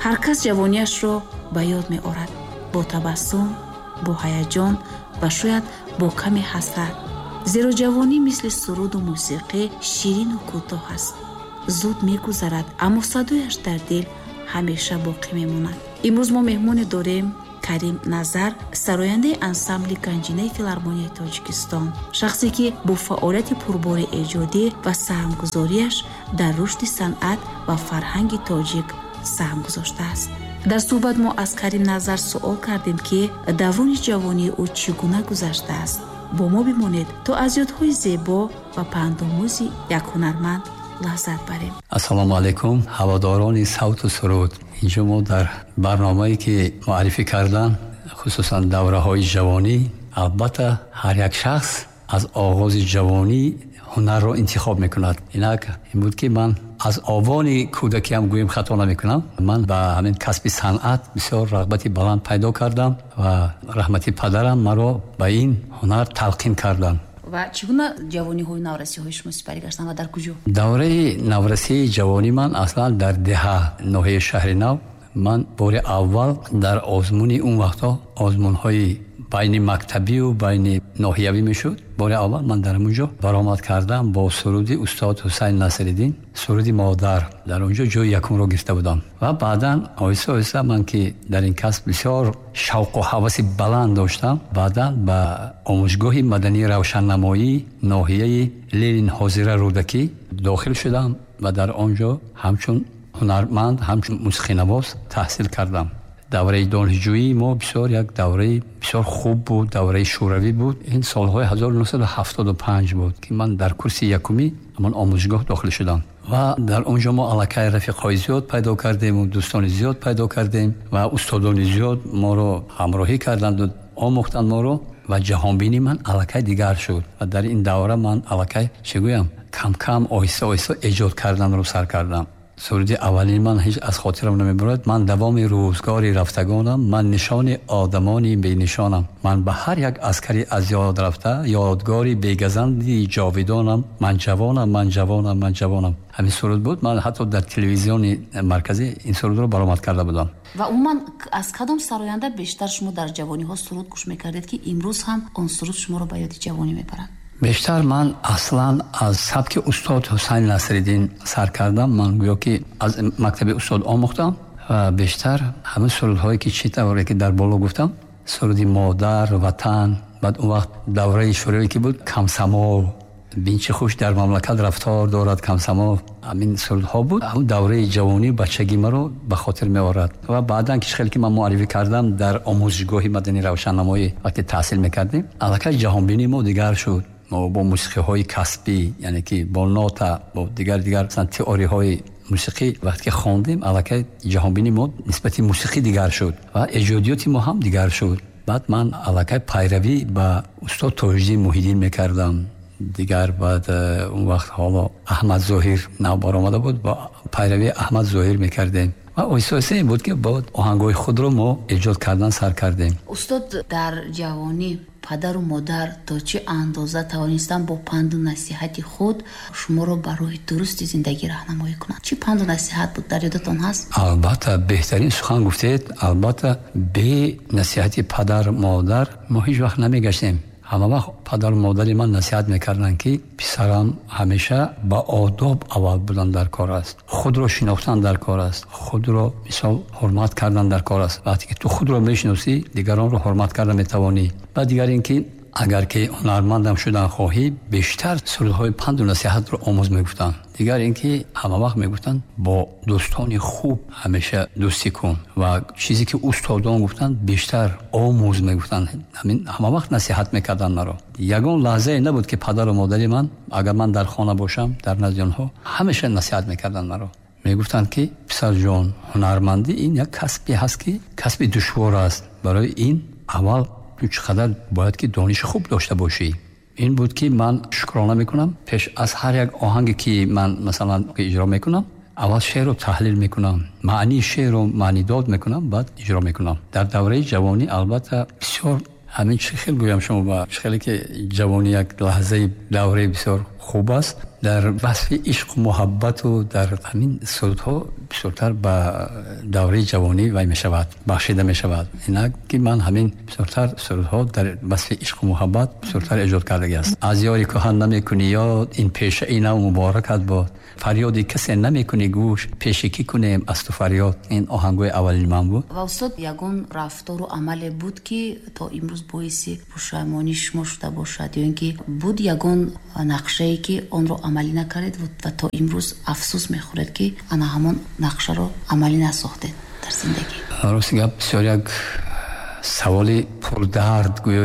Ҳар кас ҷавониашро ба ёд меорад бо табассум, бо ҳаяҷон ва шояд бо каме ҳасрат. Зеро ҷавонӣ мисли суруду мусиқӣ ширину кӯтоҳ аст. Зуд мегузарад, аммо садояш дар дил ҳамеша боқӣ мемонад. Имрӯз мо меҳмоне дорем: Карим Назар, сарояндаи ансамбли Ганҷинаи филармонияи Тоҷикистон, шахсе ки бо фаъолияти пурбори эҷодӣ ва саҳмгузориаш дар рушди санъат ва фарҳанги тоҷик саҳм гузоштааст. Дар суҳбат мо аз Карим Назар суол кардем, ки даврони ҷавонии ӯ чӣ гуна гузаштааст. Бо мо бимонед, то аз ёдҳои зебо ва пандомӯзи як ҳунарманд лаззат барем. Ассалому алайкум, ҳаводорони савту суруд. Инҷо мо дар барномае ки муаррифӣ кардан, хусусан давраҳои ҷавонӣ, албатта ҳар як шахс аз оғози ҷавонӣ ҳунарро интихоб мекунад. Инак ин буд, ки ман аз овони кӯдакиам, гӯем хато намекунам, ман ба ҳамин касби санъат бисёр рағбати баланд пайдо кардам ва раҳмати падарам маро ба ин ҳунар талқин карданд. Ва чӣ гуна ҷавониҳои наврасиҳои шумо сипарӣ гаштанд ва дар куҷо? Давраи наврасии ҷавонӣ ман аслан дар деҳа, ноҳияи Шаҳри Нав. Ман бори аввал дар озмуни, он вақтҳо озмунҳои байни мактабию байни ноҳиявӣ мешуд, бори аввал ман дар он ҷо баромад кардам бо суруди устод Ҳусайн Насриддин, суруди «Модар». Дар он ҷо ҷои якумро гирифта будам. Ва баъдан оҳиста оҳиста ман, ки дар ин касб бисёр шавқу ҳаваси баланд доштам, баъдан ба омӯзгоҳи мадании равшаннамоии ноҳияи Ленин, ҳозира Рӯдакӣ, дохил шудам ва дар он ҷо ҳамчун ҳунарманд, ҳамчун мусиқинавоз таҳсил кардам. Давраи донишҷӯии мо бисёр як давраи бисёр хуб буд, давраи шӯравӣ буд. Ин солҳои 1975 буд, ки ман дар курси якумӣ ҳамон омӯзгоҳ дохил шудам ва дар он ҷо мо аллакай рафиқҳои зиёд пайдо кардему дӯстони зиёд пайдо кардем ва устодони зиёд моро ҳамроҳӣ карданду омӯхтанд моро ва ҷаҳонбинии ман аллакай дигар шуд. Ва дар ин давра ман аллакай, чӣ гӯям, кам-кам, оҳиста оҳиста эҷод карданро сар кардам. Суруди аввалини ман ҳеҷ аз хотирам намебурад: «Ман давоми рӯзгори рафтагонам, ман нишони одамони бенишонам, ман ба ҳар як аскари аз ёд рафта ёдгори бегазанди ҷовидонам, ман ҷавонам, ман ҷавонам, ман ҷавонам». Ҳамин суруд буд. Ман ҳатто дар телевизиони марказӣ ин сурудро баромад карда будам. Ва умуман аз кадом сароянда бештар шумо дар ҷавониҳо суруд гӯш мекардед, ки имрӯз ҳам он суруд шуморо ба ёди ҷавонӣ мебарад? Бештар ман аслан аз сабки устод Ҳусайн Насриддин сар кардам. Ман гӯё ки аз мактаби устод омӯхтам ва бештар ҳамин сурудҳое ки, чӣ тавре ки дар боло гуфтам, суруди модар, ватан. Баъд он вақт давраи шӯравӣ ки буд, «Комсомол», «Бин чӣ хуш дар мамлакат рафтор дорад комсомол», ҳамин сурудҳо буд. Ҳамн давраи ҷавонӣ, бачагӣ маро ба хотир меорад. Ва баъдан ки хеле ки ман муаррифӣ кардам, дар омӯзишгоҳи мадании равшаннамоӣ вақте таҳсил мекардем, аллакай ҷаҳонбинии мо дигар шуд. Мо бо мусиқиҳои касбӣ, яъне ки бо нота, бо дигар дигар теориҳои мусиқӣ вақте ки хондем, аллакай ҷаҳонбинии мо нисбати мусиқӣ дигар шуд ва эҷодиёти мо ҳам дигар шуд. Баъд ман аллакай пайравӣ ба устод Тоҷиддин Муҳиддин мекардам. Дигар баъд он вақт ҳоло Аҳмад Зоҳир нав баромада буд, бо пайравии Аҳмад Зоҳир мекардем ва оҳиста оҳиста ин буд, ки бо оҳангҳои худро мо эҷод кардан сар кардем. Устод, дар ҷавонӣ падару модар то чӣ андоза тавонистанд бо панду насиҳати худ шуморо ба роҳи дурусти зиндагӣ раҳнамоӣ кунанд? Чӣ панду насиҳат буд, дар ёдатон ҳаст? Албатта, беҳтарин сухан гуфтед. Албатта, бе насиҳати падар модар мо ҳеҷ вақт намегаштем. Ҳама вақт падару модари ман насиҳат мекарданд, ки писарам, ҳамеша ба одоб аввал будан дар кор аст, худро шинохтан дар кор аст, худро мисол ҳурмат кардан дар кор аст. Вақте ки ту худро мешиносӣ, дигаронро ҳурмат карда метавонӣ. Ва дигар ин ки агар ки ҳунармандам шудан хоҳӣ, бештар сурудҳои панду насиҳатро омӯз, мегуфтанд. Дигар ин ки ҳама вақт мегуфтанд, бо дӯстони хуб ҳамеша дӯстӣ кун ва чизе ки устодон гуфтанд, бештар омӯз, мегуфтанд. Ҳамин ҳама вақт насиҳат мекарданд маро. Ягон лаҳзае набуд, ки падару модари ман, агар ман дар хона бошам, дар назди онҳо, ҳамеша насиҳат мекарданд маро. Мегуфтанд, ки писарҷон, ҳунармандӣ ин як касбе ҳаст, ки касби душвор аст. Барои ин аввал ту чӣ қадар бояд ки дониши хуб дошта бошӣ. Ин буд, ки ман шукрона мекунам. Пеш аз ҳар як оҳанге ки ман масалан иҷро мекунам, аввал шеърро таҳлил мекунам, маънии шеърро маънидод мекунам, баъд иҷро мекунам. Дар давраи ҷавонӣ албатта бисёр ҳамин, чӣ хел гӯям шумо, ба чӣ хеле ки ҷавонӣ як лаҳзаи давраи бисёр хуб аст. Дар васфи ишқу муҳаббату дар ҳамин сурудҳо бисёртар ба давраи ҷавонӣ вай мешавад, бахшида мешавад. Инак ки ман ҳамин бисёртар сурудҳо дар васфи ишқу муҳаббат бисёртар эҷод кардагӣ аст. Аз ёри кӯҳан намекунӣ ёд, ин пешаи нав муборакат бод. Фарёди касе намекунӣ гӯш, пеши кӣ кунем аз ту фарёд. Ин оҳангои аввалини ман буд. Ва устод, ягон рафтору амале буд, ки то имрӯз боиси пушаймонии шумо шуда бошад, ё ин ки буд ягон нақшае, ки онро амалӣ накардед ва то имрӯз афсӯс мехӯред, ки ана ҳамон нақшаро амалӣ насохтед дар зиндагӣ? Рости гап, бисёр як саволи пурдард гӯё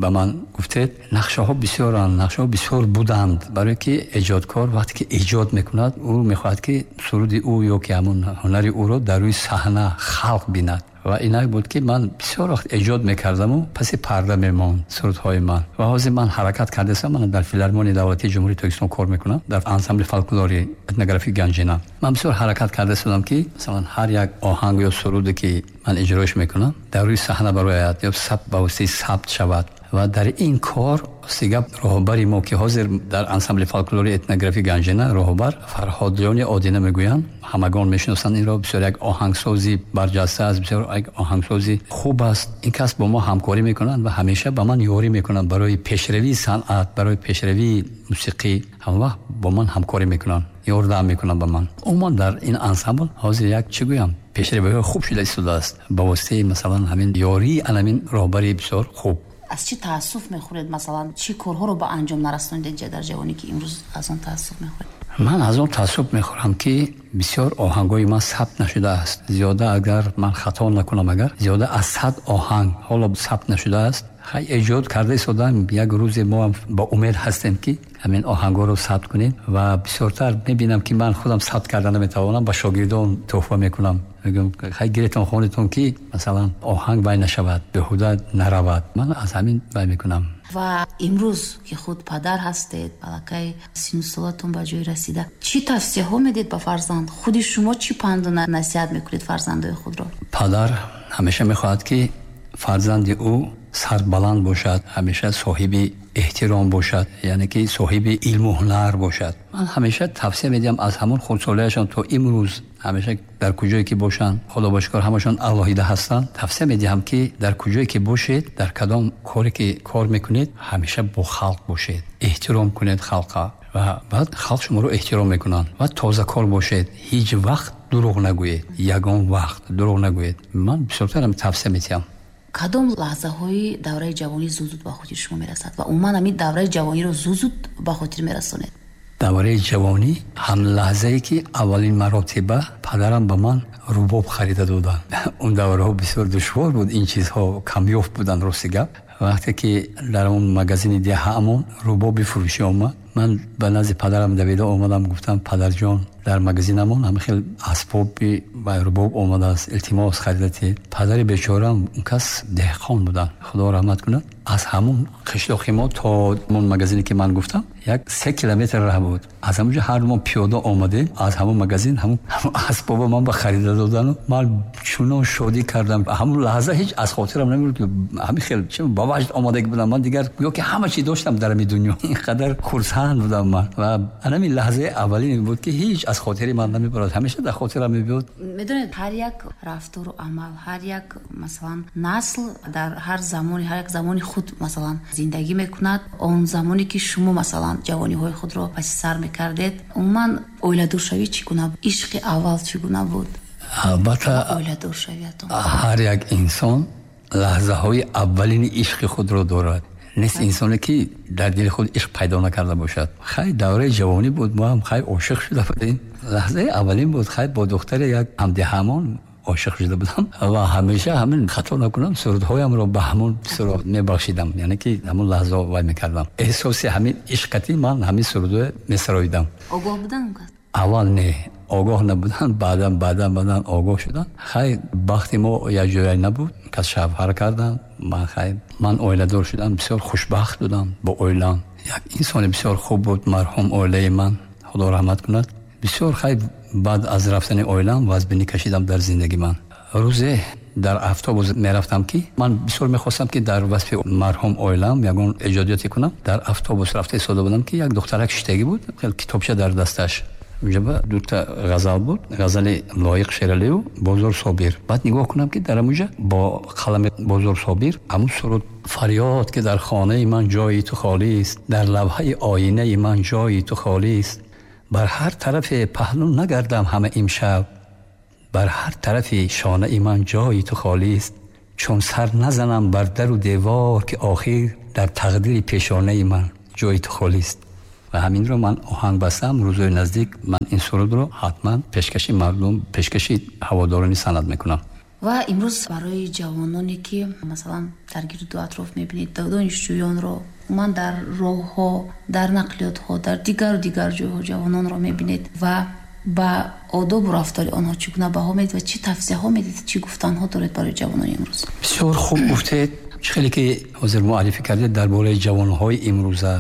ба ман гуфтед. Нақшаҳо бисёранд, нақшаҳо бисёр буданд, барое ки эҷодкор вақте ки эҷод мекунад, ӯ мехоҳад, ки суруди ӯ ё ки ҳамон ҳунари ӯро дар рӯи саҳна халқ бинад. Ва инак буд, ки ман бисёр вақт эҷод мекардаму паси парда мемонд сурудҳои ман. Ва ҳозир ман ҳаракат кардастам, ман дар Филармонияи давлатии Ҷумҳурии Тоҷикистон кор мекунам, дар ансамбли фолклори этнографии Ганҷина. Ман бисёр ҳаракат кардастам, ки масалан ҳар як оҳанг ё суруде, ки ман иҷроиш мекунам, дар рӯи саҳна барояд ё сабт, ба воситаи сабт шавад. Ва дар ин кор гап роҳбари мо, ки ҳозир дар ансамбли фолклори этнографии Ганҷина роҳбар Фарҳодлиёни Одина мегӯянд, ҳамагон мешиносанд инро, бисёр як оҳангсози барҷаста аст, бисёр як оҳангсози хуб аст. Ин кас бо мо ҳамкорӣ мекунанд ва ҳамеша ба ман ёрӣ мекунанд барои пешравии санъат, барои пешравии мусиқӣ. Ҳамавақт бо ман ҳамкорӣ мекунанд, ёрдам мекунанд ба ман. Умуман дар ин ансамбл ҳозир як чӣ гӯям, пешравиҳои хуб шуда истодааст ба воситаи масалан ҳамин ёрии анамин роҳбари бисёр хуб. Аз чӣ таассуф мехӯред, масалан чӣ корҳоро ба анҷом нарасонидед дар ҷавонӣ, ки имрӯз аз он таассуф мехӯред? Ман аз он таассуф мехӯрам, ки бисёр оҳангҳои ман сабт нашудааст. Зиёда, агар ман хато накунам, агар зиёда аз 100 оҳанг ҳоло сабт нашудааст. Хай, эҷод карда истодаам, як рӯзе мо ҳам ба умед ҳастем, ки ҳамин оҳангҳоро сабт кунем. Ва бисёртар мебинам, ки ман худам сабт карда наметавонам, ба шогирдон тӯҳфа мекунам, мегӯям: хай, гиретон, хонетон, ки масалан оҳанг вай нашавад, беҳуда наравад. Ман аз ҳамин вай мекунам. Ва имрӯз, ки худ падар ҳастед, аллакай сину солатон ба ҷой расида, чӣ тавсияҳо медиҳед ба фарзанд? Худи шумо чӣ панду насиҳат мекунед фарзандои худро? Падар ҳамеша мехоҳад, ки фарзанди ӯ сарбаланд бошад, ҳамеша соҳиби эҳтиром бошад, яъне ки соҳиби илму ҳунар бошад. Ман ҳамеша тавсия медиҳам аз ҳамон хурдсолиашон то имрӯз, ҳамеша дар куҷое ки бошанд, худо ба шукр, ҳамашон алоҳида ҳастанд, тавсия медиҳам, ки дар куҷое ки бошед, дар кадом коре ки кор мекунед, ҳамеша бо халқ бошед, эҳтиром кунед халқа ва баъд халқ шуморо эҳтиром мекунанд. Ва тозакор бошед, ҳеҷ вақт дурӯғ нагӯед, ягон вақт дурӯғ нагӯед. Ман бисёртар тавсия медиҳам. Кадом лаҳзаҳои давраи ҷавонӣ зуд зуд ба хотири шумо мерасад ва умуман ҳамин давраи ҷавониро зуд зуд ба хотир мерасонед? Давраи ҷавонӣ ҳам лаҳзае, ки аввалин маротиба падарам ба ман рубоб харида доданд. Он давраҳо бисёр душвор буд, ин чизҳо камёфт буданд. Рости гап, вақте ки дар он магазини деҳаамон рубоби фурӯшӣ омад, ман ба назди падарам давида омадам, гуфтам: падарҷон, дар магазинамон ҳама хел асбоби ва рубоб омадааст, илтимос, харида диҳед. Падари бечораам, он кас деҳқон буданд, худо раҳмат кунад, аз ҳамон қишлоқи мо то он магазине, ки ман гуфтам, як 3 километр раҳ буд. Аз ҳамонҷо ҳар мо пиёда омадем, аз ҳамон магазин ҳамон асбоба ман ба харида додану ман чунон шодӣ кардам, ҳамон лаҳза ҳеҷ аз хотирам намерад, ки ҳамин хел ба ваҷд омадагӣ будам. Ман дигар гӯё ки ҳама чи доштам дар ҳамин дунё, инқадар хурсанд будам ман. Ва ҳамин лаҳзаи аввалин буд, ки ҳеҷ аз хотири ман намебарад, ҳамеша дар хотирам мебиёд. Медонед, ҳар як рафтору амал, ҳар як масалан насл дар ҳар замони, ҳар як замони худ масалан зиндагӣ мекунад. Он замоне, ки шумо масалан ҷавониҳои худро паси сар мекардед, умуман оиладоршавӣ чӣ гуна буд? Ишқи аввал чӣ гуна буд? Албатта, оиладоршавиятон. Ҳар як инсон лаҳзаҳои аввалини ишқи худро дорад. Нест инсоне, ки дар дили худ ишқ пайдо накарда бошад. Хай, давраи ҷавонӣ буд, мо ҳам хай ошиқ шуда будем. Лаҳзаи аввалин буд, хай, бо духтари як ҳамдеҳамон ошиқ шуда будам ва ҳамеша ҳамин, хато накунам, сурудҳоямро ба ҳамон суруд мебахшидам, яъне ки ҳамон лаҳза вай мекардам, эҳсоси ҳамин ишқати ман ҳамин сурудо месароидам. Огоҳ будан? Аввал не, огоҳ набуданд, баъдан баъдан баъдан огоҳ шуданд. Хай, бахти мо якҷоя набуд, кас шавҳар кардам, ман хай, ман оиладор шудам, бисёр хушбахт будам бо оилам. Як инсони бисёр хуб буд марҳум оилаи ман, худо раҳмат кунад. Бисёр хай, баъд аз рафтани оилам вазбинӣ кашидам дар зиндагӣ ман. Рӯзе Дар автобус мерафтам, ки ман бисёр мехостам, ки дар васфи марҳум оилам ягон эҷодиёте кунам. Дар автобус рафта истода будам, ки як духтарак шиштагӣ буд, хел китобча дар дасташ. Унҷа дута ғазал буд, ғазали Лоиқ Шералиу, Бозор Собир. Баъд нигоҳ кунам, ки дар амуҷа бо қалами Бозор Собир ҳамун суруд: «Фарёд, ки дар хонаи ман ҷои ту холист, дар лавҳаи оинаи ман ҷои ту холист, бар ҳар тарафе паҳлӯ нагардам ҳама имшаб, бар ҳар тарафи шонаи ман ҷои ту холист, чун сар назанам бар дару девор, ки охир дар тақдири пешонаи ман ҷои ту холист». Ва ҳаминро ман оҳанг бастам. Рӯзои наздик ман ин сурудро ҳатман пешкаши мардум, пешкаши ҳаводорони санъат мекунам. Ва имрӯз барои ҷавононе, ки масалан дар гирду атроф мебинед, донишҷӯёнро, умуман дар роҳҳо, дар нақлиётҳо, дар дигару дигар ҷойҳо ҷавононро мебинед ва ба одобу рафтори онҳо чӣ гуна баҳо медиҳед ва чӣ тавсияҳо медиҳед, чӣ гуфтанҳо доред барои ҷавонони имрӯз? Бисёр хуб гуфтед. Чӣ хеле ки ҳозир муаррифӣ кардед дар бораи ҷавонҳои имрӯза,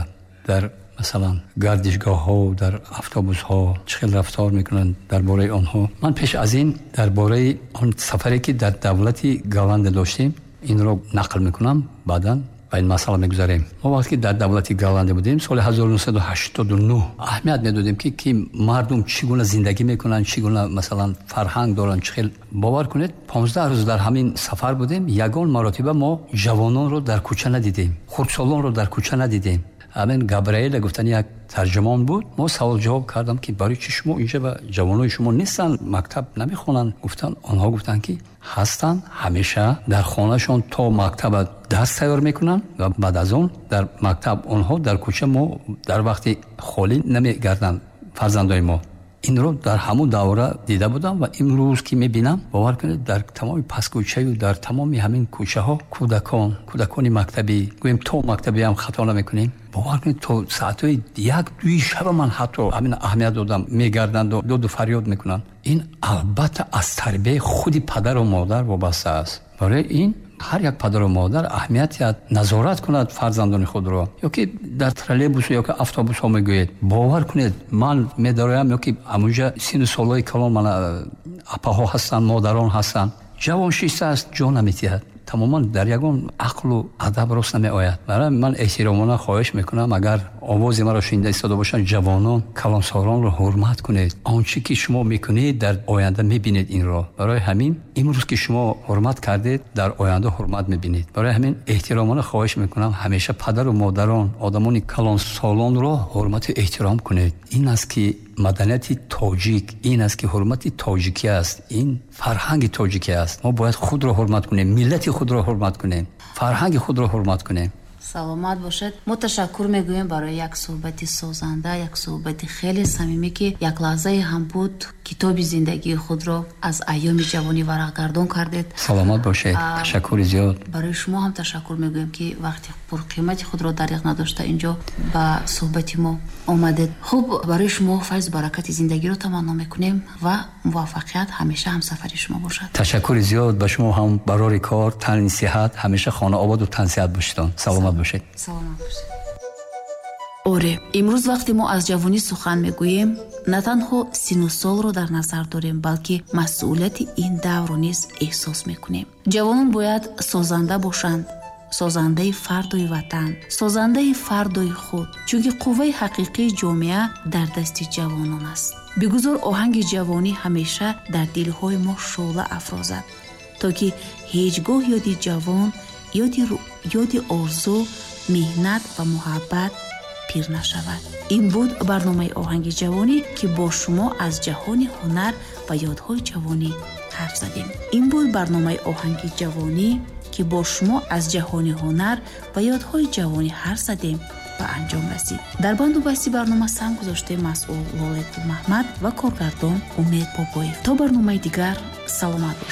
дар масалан гардишгоҳҳо, дар автобусҳо чӣ хел рафтор мекунанд, дар бораи онҳо ман пеш аз ин дар бораи он сафаре, ки дар давлати Голландия доштем, инро нақл мекунам, баъдан ба ин масъала мегузарем. Мо вақте ки дар давлати Голландия будем, соли 1989, аҳамият медодем, ки мардум чӣ гуна зиндагӣ мекунанд, чӣ гуна масалан фарҳанг доранд, чӣ хел. Бовар кунед, 15 рӯз дар ҳамин сафар будем, ягон маротиба мо ҷавононро дар кӯча надидем, хурдсолонро дар кӯча надидем. Ҳамин Габриэла гуфтани як тарҷумон буд. Мо савол ҷавоб кардам, ки барои чӣ шумо инҷа ва ҷавонои шумо нестанд, мактаб намехонанд? Гуфтанд, онҳо гуфтанд, ки ҳастанд, ҳамеша дар хонаашон то мактаба дарс тайёр мекунанд ва баъд аз он дар мактаб. Онҳо дар кӯча мо дар вақти холӣ намегарданд, фарзандои мо. Инро дар ҳамун давра дида будам ва имрӯз ки мебинам, бовар кунед, дар тамоми пасткӯчаю дар тамоми ҳамин кӯчаҳо кӯдакон, кӯдакони мактабӣ, гӯем то мактабиам хато намекунем, бовар кунед, то саатҳои 1-2 шаба ман ҳатто ҳамин аҳамият додам, мегарданду доду фарёд мекунанд. Ин албатта аз тарбияи худи падару модар вобаста аст. Барои ин ҳар як падару модар аҳамият диҳад, назорат кунад фарзандони худро. Ё ки дар троллейбусу ё ки автобусҳо мегӯед, бовар кунед, ман медароям, ё ки амунҷа сину солҳои калон мана апаҳо ҳастанд, модарон ҳастанд, ҷавон шиштааст, ҷо наметиҳад, тамоман дар ягон ақлу адаб рост намеояд. Барои ман эҳтиромона хоҳиш мекунам, агар овози маро шунида истода бошанд ҷавонон, калонсолонро ҳурмат кунед. Он чӣ ки шумо мекунед, дар оянда мебинед инро. Барои ҳамин имрӯз ки шумо ҳурмат кардед, дар оянда ҳурмат мебинед. Барои ҳамин эҳтиромона хоҳиш мекунам, ҳамеша падару модарон, одамони калонсолонро ҳурмату эҳтиром кунед. Ин аст ки маданияти тоҷик, ин аст ки ҳурмати тоҷикӣ аст, ин фарҳанги тоҷикӣ аст. Мо бояд худро ҳурмат кунем, миллати худро ҳурмат кунем, фарҳанги худро ҳурмат кунем. Саломат бошед. Мо ташаккур мегӯем барои як суҳбати созанда, як суҳбати хеле самимӣ, ки як лаҳзае ҳам буд, китоби зиндагии худро аз айёми ҷавонӣ варақгардон кардед. Саломат бошед, ташаккури зиёд. Барои шумо ҳам ташаккур мегӯем, ки вақти пурқимати худро дариғ надошта инҷо ба суҳбати мо омадед. Хуб, барои шумо файзу баракати зиндагиро таманно мекунем ва муваффақият ҳамеша ҳамсафари шумо бошад. Ташаккури зиёд ба шумо ҳам, барори кор, тани сиҳат, ҳамеша хонаободу тансиҳат бошедон. Саломат бошед. Саломат бошед. Оре, имрӯз вақте мо аз ҷавонӣ сухан мегӯем, на танҳо сину солро дар назар дорем, балки масъулияти ин даврро низ эҳсос мекунем. Ҷавонон бояд созанда бошанд, созандаи фардои ватан, созандаи фардои худ, чунки қувваи ҳақиқии ҷомеа дар дасти ҷавонон аст. Бигузор оҳанги ҷавонӣ ҳамеша дар дилҳои мо шӯъла афрозад, то ки ҳеҷ гоҳ ёди ҷавон, ёди орзу, меҳнат ва муҳаббат пир нашавад. Ин буд барномаи оҳанги ҷавонӣ, ки бо шумо аз ҷаҳони ҳунар ва ёдҳои ҷавонӣ ҳарф задем. Ин буд барномаи оҳанги ҷавонӣ, ки бо шумо аз ҷаҳони ҳунар ва ёдҳои ҷавонӣ ҳарф задем, ба анҷом расид. Дар банду басти барнома саҳм гузоштем масъул Лолаи Гулмаҳмад ва коргардон Умед Бобоев. То барномаи дигар саломат бошед.